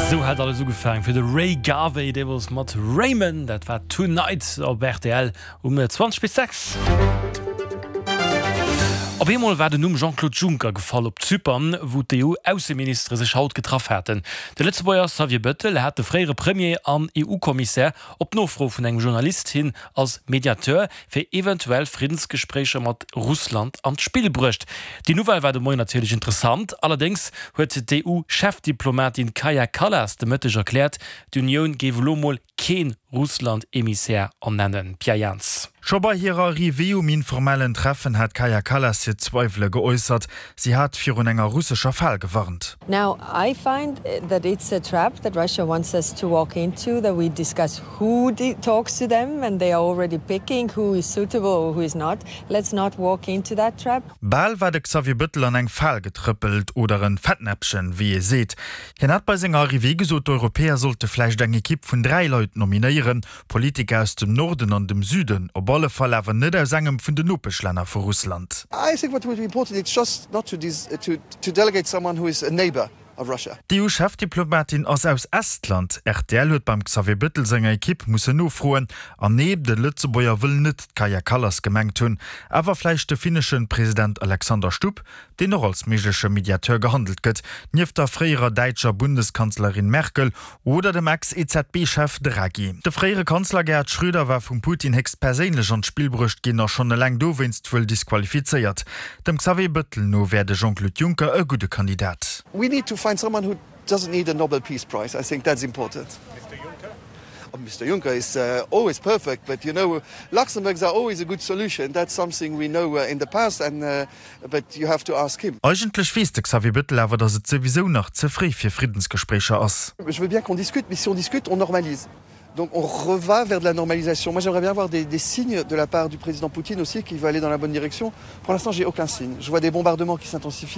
Sou hat alles ugefaang fir de Ray Garvey, deemools mat Raymond. Dat war Tonight op rtl um 20 bis 6. Op eemol war den Numm Jean-Claude Juncker gefall op Zypern, wou d'EU-Ausseministere sech haut getraff haten. De Lëtzebuerger Xavier Bettel hat de fréiere Premier an EU-Kommissär op Nofro vun engem Journalist hin als Mediateur fir eventuell Friddensgespréicher mat Russland an d'Spill bruecht. Déi Nouvelle war de Moien natierlech interessant. Allerdéngs huet d'EU-Chefdiplomatin Kaja Kallas de Mëtteg erkläert, d'Unioun géif elo mol kee Russland-Emissär ernennen. Pierre Jans. Scho bei hirer Arrivée um informellen Treffen hat d'Kaja Kallas hir Zweiwele geäussert. Si hat virun enger russescher Fal gewarnt. Now I find that it's a trap that Russia wants us to walk into, that we discuss who talks to them and they are already picking who is suitable or who is not. Let's not walk into that trap. Bal war de Xavier Bëttel an eng Fal getrëppelt, oder en Fettnäppchen, wéi ee seet. Hien hat bei senger Arrivée gesot, d'Europäer sollte vläicht eng Ekipp vun 3 Leit nominéieren, Politiker aus dem Norden an dem Süden, op alle Fall awer net aus engem vun den Nopeschlänner vu Russland. I think what would be important it's just not to to delegate someone who is a neighbour of Russia. D'EU-Chefdiplomatin ass aus Estland. Rtl huet beim Xavier Bëttel senger Ekipp mussen nofroen. An nee, de Lëtzebuerger wëll net d'Kaja Kallas gemengt hunn, awer vläicht de finnesche President Alexander Stubb, deen och als méigleche Mediateur gehandelt gëtt, nieft der fréierer däitscher Bundeskanzlerin Merkel oder dem Ex-EZB-Chef Draghi. De fréiere Kanzler Gerhard Schröder war vum Putin héchstperséinlech an d'Spill bruecht ginn a schonn eleng dowéinst wuel disqualifizéiert. Dem Xavier Bëttel no wär de Jean-Claude Juncker e gudde Kandidat. We need to find someone who doesn't need a Nobel Peace Prize. I think that's important. Mister Juncker is always perfect, but you know Luxembourgs are always a good solution, that's something we know in the past and but you have to ask him. Eigentlech weess de Xavier Bettel awer, datt et souwisou nach ze fréi fir Friddensgespréicher ass. Je veux bien qu'on discute, mais si on discute, on normalise. Donc on reva vers de la normalisation. Moi j'aimerais bien avoir des, des signes de la part du président Poutine aussi qui veut aller dans la bonne direction. Pour l'instant, j'ai aucun signe. Je vois des bombardements qui s'intensifient.